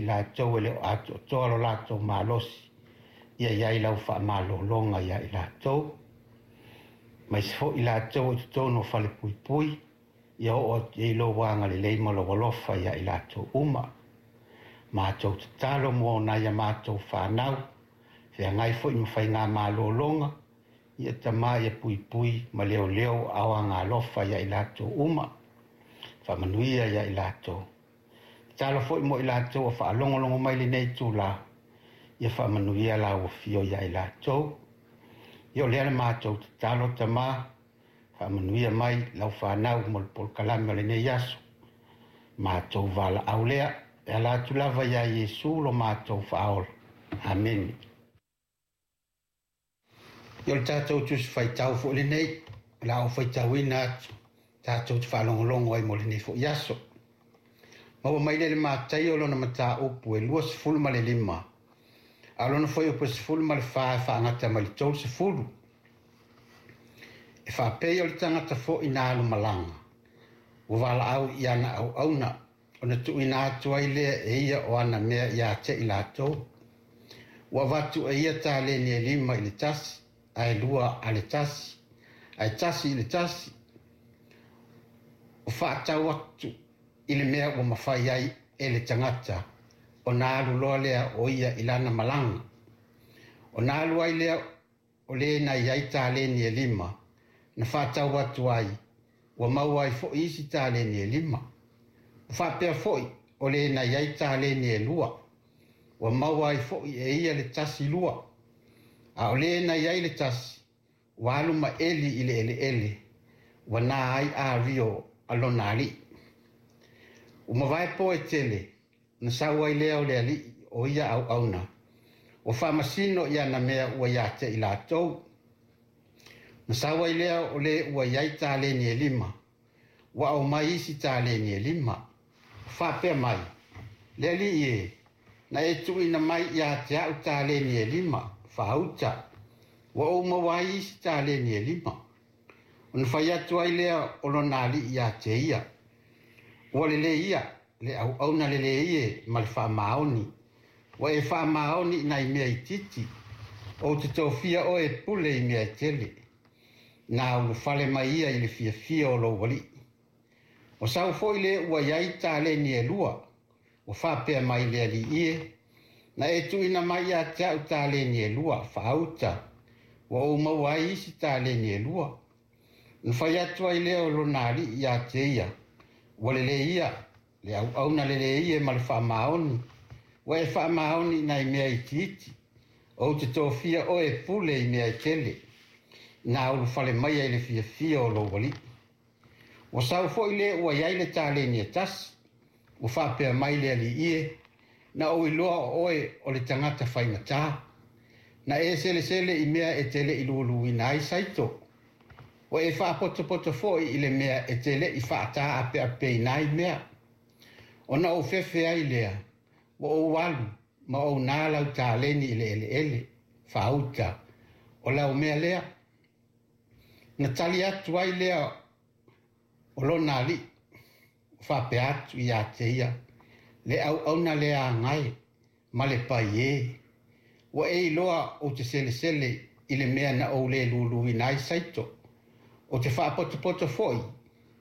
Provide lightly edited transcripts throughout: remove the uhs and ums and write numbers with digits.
latou e le o atoatoa lo latou malosi, ia i ai lau faamalologa ia i latou. Aemaise foi i latou i totonu o falepuipui, ia oo atu i ai lou agalelei ma lou alofa ia i latou uma. Matou tatalo mo nai a matou fanau, feagai foi ma faiga malologa, ia Tama ia puipui ma leoleo aao agaalofa ia i latou uma. Faamanuia ia i latou. Tatalo foi mo i latou o faalogologo mai lenei itula, ia faamanuia lau afio ia i latou. Ia o lea le matou tatalo Tama, faamanuia mai lau fanau mo le polokalame o lenei aso. Matou valaau lea, e ala atu lava ia Iesu lo matou faaola. Amene. Ia o le tatou Tusi Faitau foi lenei, o le a ou faitauina atu tatou te faalogologo ai mo lenei foi aso. Maua mai lea i le Mataio lona mataupu e 25, a o lona fuaiupu e 14 e faagata mai le 30. E faapei o le tagata foi na alu malaga, ua valaau i ana auauna, ona tuuina atu ai lea e ia o ana mea ia te i latou. Ua avatu e ia taleni e 5 i le tasi, ae 2 a le tasi, ae 1 i le tasi. O faatau atu i le mea ua mafai ai e le tagata, ona alu loa lea o ia i lana malaga. Ona alu ai lea o le na i ai taleni e 5, na faatau atu ai, ua maua ai foi isi taleni e 5. Ua faapea foi o le na i ai taleni e 2, ua maua ai foi e ia le tasi 2. A o le na i ai le tasi, ua alu ma eli i le eleele, ua na ai ario a lona alii. Ua mavae po e tele, na sau ai lea o le alii o ia auauna, ua faamasino i ana mea ua ia te i latou. Na sau ai lea o le ua i ai taleni e 5, ua aumai isi taleni e 5. Faapea mai, le alii e, na e tuuina mai ia te au taleni e 5, faauta, ua ou maua ai isi taleni e 5. Ona fai atu ai lea o lona alii ia te ia, ua lelei ia, le auauna lelei e ma le faamaoni, ua e faamaoni i nai mea itiiti, ou te tofia oe e pule i mea e tele. Na ulufale mai ia i le fiafia o lou alii. O sau foi le ua i ai taleni e 2, ua faapea mai le alii e, na e tuuina mai ia te au taleni e 2, faauta, ua ou maua ai isi taleni e 2. Na fai atu ai lea o lona alii ia te ia, ua lelei ia, le auauna lelei e ma le faamaoni, ua e faamaoni i nai mea itiiti, ou te tofia oe e pule i mea e tele, na ulufale mai ai le fiafia o lou alii. Ua sau foi le ua i ai le taleni e tasi, ua faapea mai le alii e, na ou iloa o oe o le tagata faigata, na e selesele i mea e te le i luluina ai saito, ua e faapotopoto foi i le mea e te le i faataapeapeina ai mea. Ona ou fefe ai lea, ua ou alu ma ou nā lau taleni i le eleele, faauta, o lau mea lea. Na tali atu ai lea o lona alii, faapea atu ia te ia, le auauna lea agai ma le pai e, ua e iloa ou te selesele i le mea na ou le luluina ai saito, ou te faapotopoto foi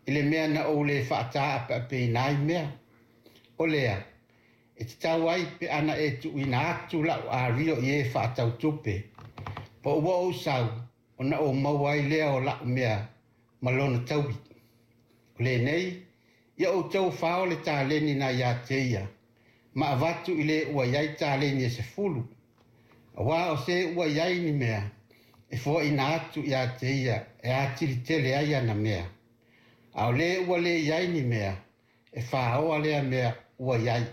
i le mea na ou le faataapeapeina ai mea. O lea, e tatau ai pe ana e tuuina atu lau ario i e faatau tupe, po ua ou sau, ona ou maua ai lea o lau mea ma lona taui. O lenei, ia outou fao le taleni na ia te ia, ma avatu i le ua i ai taleni e 10, aua o se ua i ai ni mea, e foaina atu ia te ia e atili tele ai ana mea. A o le ua le i ai ni mea, e faoa lea mea ua i ai.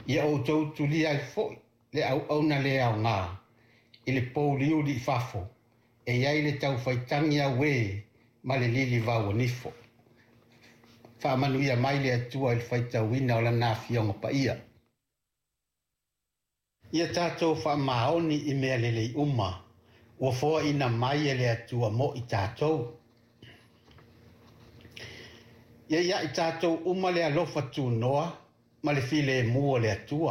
Ia outou tulia ai foi le auauna le aoga i le pouliuli i fafo, e i ai le taufaitagi auē ma le lilivau o nifo. Faamanuia mai le Atua i le faitauina o lana afioga paia. Ia tatou faamaoni i mea lelei uma, ua foaina mai e le Atua mo i tatou. Ia ia i tatou uma le alofa tunoa ma le filemu o le Atua.